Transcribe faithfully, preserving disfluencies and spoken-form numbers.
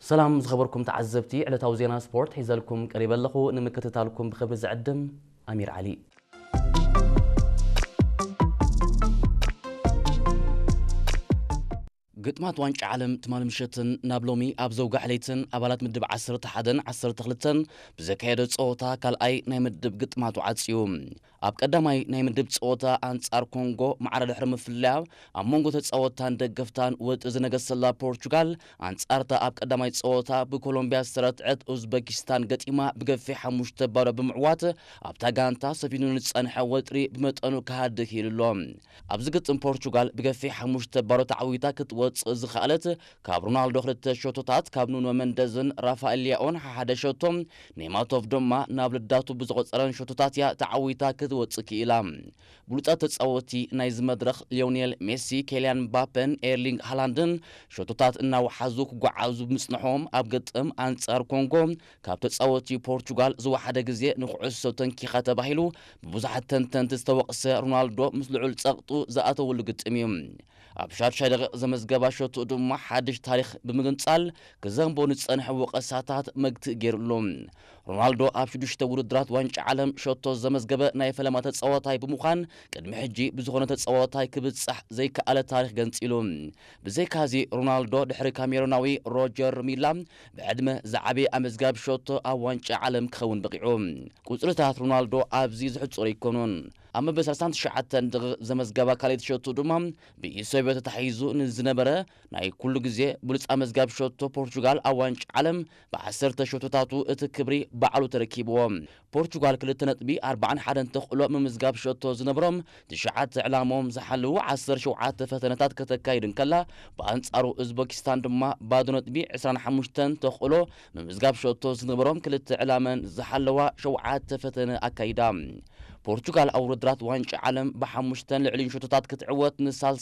ሰላም ዝኸበርኩም ተዓዘብቲ፣ ዕለታዊ ዜና ስፖርት ሒዘልኩም ቀሪበ ኣለኹ። ንምክትታልኩም ብኽብሪ ዝዕድም ኣሚር ዓሊ። ግጥማት ዋንጫ ዓለም ትማል ምሸትን ናብ ሎሚ ኣብ ዘውጋሕ ለይትን ኣባላት ምድብ ዓሰርተ ሓደን ዓሰርተ ክልተን ብዘካየደ ጸወታ ካልኣይ ናይ ምድብ ግጥማቱ ዓጽዩ። ኣብ ቀዳማይ ናይ ምድብ ጸወታ ኣንጻር ኮንጎ ማዕረ ድሕሪ ምፍላያ፣ ኣብ መንጎ ተጻወትታን ደገፍታን ወጥሪ ዝነገሰላ ፖርቹጋል፣ ኣንጻርታ ኣብ ቀዳማይ ጸወታ ብኮሎምብያ ዝተረትዐት ኡዝበኪስታን ገጢማ ብገፊሕ ሓሙሽተ ባዶ ብምዕዋት፣ ኣብታ ጋንታ ሰፊኑ ንጸንሐ ወጥሪ ብመጠኑ ክሃድእ ክኢሉ ኣሎ። ኣብዚ ግጥም ፖርቹጋል ብገፊሕ ሓሙሽተ ባዶ ተዓዊታ ክትወጽእ ዝኸኣለት፣ ካብ ሮናልዶ ክልተ ሸቶታት፣ ካብ ኑኖ መንደዝን ራፋኤል ሊያኦን ሓደ ሸቶ፣ ኔማቶቭ ድማ ናብ ልዳቱ ብዝቖጸረን ሸቶታት እያ ተዓዊታ ክትወጽእ ክኢላ። ብሉጻት ተጻወቲ ናይዚ መድረኽ ሊዮኔል ሜሲ፣ ኬልያን ምባፔን ኤርሊንግ ሃላንድን ሸቶታት እናወሓዙ ክጓዓዙ ብምጽንሖም፣ ኣብ ግጥም ኣንጻር ኮንጎ ካብ ተጻወቲ ፖርቹጋል ዝወሓደ ግዜ ንኩዕሶ ተንኪኻ ተባሂሉ ብብዙሓት ተንተንቲ ዝተወቕሰ ሮናልዶ ምስ ልዑል ጸቕጡ ዝኣተወሉ ግጥም እዩ። ኣብ ሻድሻይ ደቂቕ ዘመዝገባ ሸቶ ድማ ሓድሽ ታሪኽ ብምግንጻል፣ ክዘንቦ ንጸንሐ ወቐሳታት መግትእ ገይሩሉ። ሮናልዶ ኣብ ሽዱሽተ ውድድራት ዋንጫ ዓለም ሸቶ ዘመዝገበ ናይ ፈለማ ተጻዋታይ ብምዃን፣ ቅድሚ ሕጂ ብዝኾነ ተጻዋታይ ክብጻሕ ዘይከኣለ ታሪኽ ገንጺሉ። ብዘይካዚ፣ ሮናልዶ ድሕሪ ካሜሩናዊ ሮጀር ሚላ ብዕድመ ዝዓበየ ኣመዝጋቢ ሸቶ ኣብ ዋንጫ ዓለም ክኸውን በቒዑ። ቁጽርታት ሮናልዶ ኣብዚ ዝሕጽሩ ኣይኮኑን። ኣብ መበል ሰላሳን ትሽዓተን ደቂቕ ዘመዝገባ ካልኣይቲ ሸቶ ድማ ብኢሶብዮ ተታሒዙ ንዝነበረ ናይ ኩሉ ግዜ ብሉጽ ኣመዝጋቢ ሸቶ ፖርቹጋል ኣብ ዋንጫ ዓለም ብዓሰርተ ሸቶታቱ እቲ ክብሪ ባዕሉ ተረኪብዎ። ፖርቹጋል ክልተ ነጥቢ ኣርባዓን ሓደን ተኽእሎ ምምዝጋብ ሸቶ ዝነበሮም ትሽዓተ ዕላሞም ዝሓልዉ ዓሰርተ ሸውዓተ ፈተነታት ከተካይድ እንከላ፣ ብኣንጻሩ ኡዝበኪስታን ድማ ባዶ ነጥቢ ዕስራን ሓሙሽተን ተኽእሎ ምምዝጋብ ሸቶ ዝነበሮም ክልተ ዕላመን ዝሓለዋ ሸውዓተ ፈተነ ኣካይዳ። ፖርቹጋል ኣብ ውድድራት ዋንጫ ዓለም ብሓሙሽተን ልዕሊን ሸቶታት ክትዕወት ንሳልሳይ